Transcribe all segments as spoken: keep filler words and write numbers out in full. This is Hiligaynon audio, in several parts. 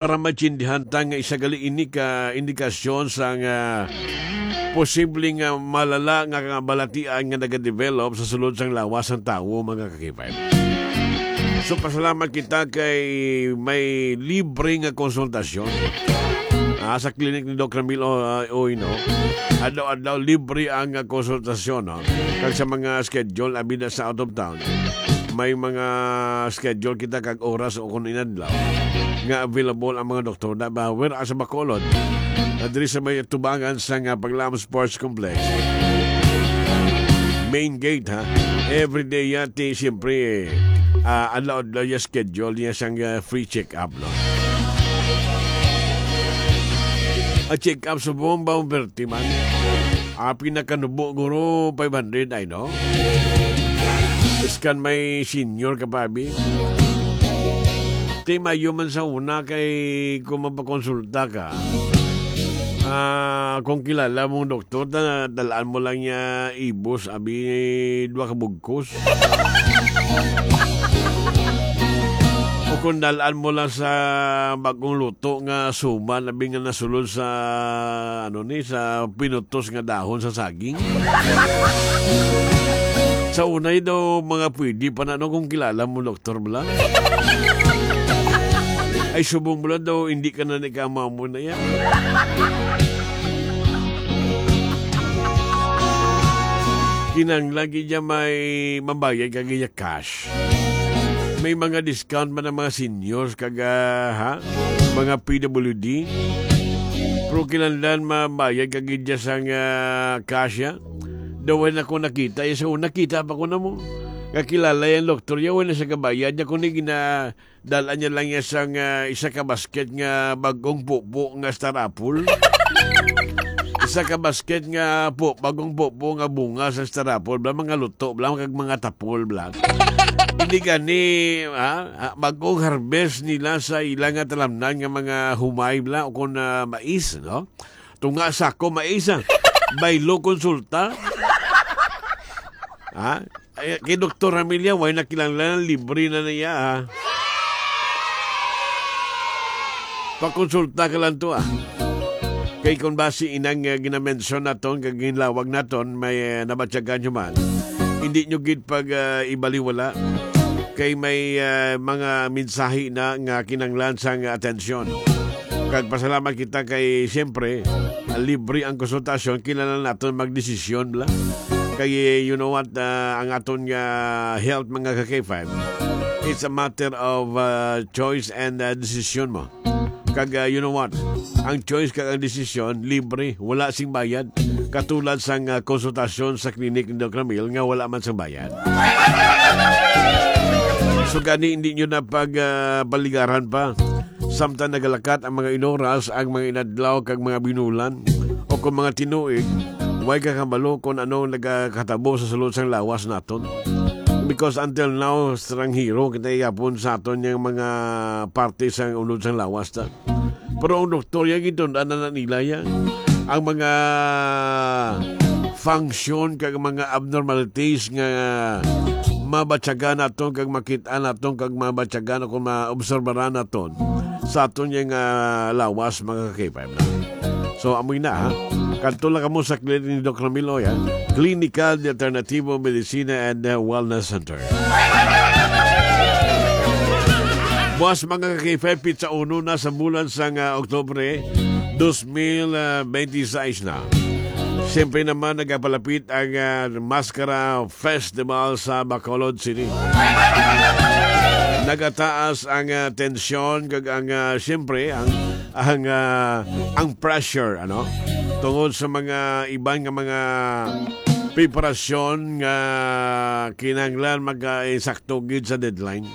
Para maintindihan ta nga isa gali ini ka indikasyon sa nga posible nga malala nga kabalatian nga nagadevelop sa sulod sang lawas sang tawo, mga ka-K five. So, pasalamat kita kay may libre nga konsultasyon, ah, sa klinik ni Doc Ramil, ah, Uy, no? Adlaw-adlaw libre ang, ah, konsultasyon, no? Kag sa mga schedule, abi na sa out of town, may mga schedule kita kag oras o kung inadlaw nga available ang mga doktor na ba, where as Bacolod, na diri sa may tubangan sa nga Paglaom Sports Complex. Main gate, ha? Every day yati, siyempre, ah, adlaw-adlaw yung schedule niya sang, ah, free check-up, no? Ang check-up sa buong Baumberti man. Ah, pinakanubo, guro, five hundred, ay, no? Iskan may senior ka pa, abi. Ti, mayo man sa una kay kung mapakonsulta ka, ah, kung kilala mong doktor, ta-, dalaan mo lang niya ibos, abi, dua ka bugkos. O kung dalaan mo lang sa bagong luto nga suman, abi nga nasulod sa, ano ni, sa pinutos nga dahon sa saging. Sa unay daw, mga pwede pa na, no, kung kilala mo, doktor, bala. Ay, subong bala daw, hindi ka na ni kamamo na yan. Kinang lagi niya may mabayad ka gaya cash. May mga discount man ang mga seniors kag, ah, ha? Mga P W D. Pero kinahanglan mabayad ka gid dyan sa nga cash, ya. Daw na ko nakita, ya, sa una, kita pa ko na mo. Nga kilala yung doktor, ya, wala sa kabayad niya, kundi gina-, dalaan niya lang ya sang, ah, isa ka basket nga bagong pupo nga star apple. Isa ka basket nga po, bagong pupo nga bunga sa star apple, bla, mga luto, bla, kag mga tapol, bla. Hindi gani, ha? Ah, bagong harvest nila sa ila nga talamnan nga mga humay, bla, o kung, ah, mais, no? Tunga sako mais, ah. Baylo konsulta. Ha? Ay, kay Doktor Ramilya, way na kinahanglan, libre na niya, ah. Pakonsulta ka lang to, ah. Kay kung basi inang, ah, ginamensyon naton, kag ginlawag naton, may, ah, nabatyagan nyo man. Hindi nyo gid pag, ah, ibaliwala. Kay may, ah, mga mensahe na nga kinahanglan sang atensyon. Kag pasalamat kita kay, siyempre, libre ang konsultasyon, kinahanglan naton magdesisyon, bla. Kay, you know what, ah, ang aton nga health, mga ka-K five, it's a matter of, ah, choice and, ah, decision mo. Kag, ah, you know what, ang choice kag ang desisyon, libre, wala sing bayad. Katulad sang, ah, konsultasyon sa klinik ni Doc Ramil nga wala man sang bayad. So gani, hindi nyo na pag, ah, baligaran pa. Samtang nagalakat ang mga inoras, ang mga inadlaw, kag mga binulan, o kung mga tinuig, way ka kabalo kung ano nagakatabo sa sulod sang lawas naton. Because until now, stranghero kita yapon sa aton yang mga parte sa unod sang lawas ta. Pero ang doktor, ya, gitun-an na nila, ya. Ang mga function kag mga abnormalities nga mabatyagan naton kag makit-an naton kag mabatyagan o kung maobserbaran naton sa aton yang, ah, lawas, mga ka-K five na. So, amoy na, ha? Kadto lang kamo sa clinic ni Doc Ramil Oy, ha? Clinical de Alternativo Medicina and, uh, Wellness Center. Buwas, mga ka-K five, pitsa uno na sa bulan sang, ah, Oktubre, dos mil, ah, bente seis na. Siyempre naman, nagapalapit ang, ah, Maskara Festival sa Bacolod City. Nagataas ang, ah, tensyon kag ang, ah, siyempre, ang, ang, ah, ang pressure, ano? Tungod sa mga iban nga mga preparasyon nga kinahanglan mag, ah, insakto gid sa deadline.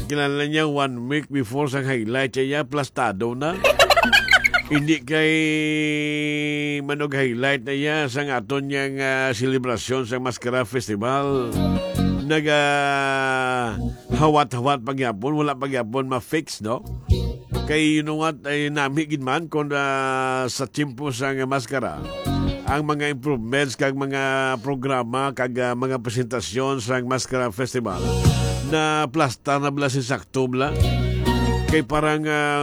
Kinahanglan niya one week before sa highlight niya, plastado na. Hindi kay manog highlight na iya sa aton niyang, ah, selebrasyon sa Maskara Festival. Naga hawat-hawat pa gyapon, wala pa gyapon ma-fix, no? Kay, you know what, ay nami gid man kung, ah, sa tiyempo sa nga maskara, ang mga improvements kag mga programa kag, ah, mga presentasyon sa Maskara Festival na plasta na bala si sakto bala. Kay parang, ah,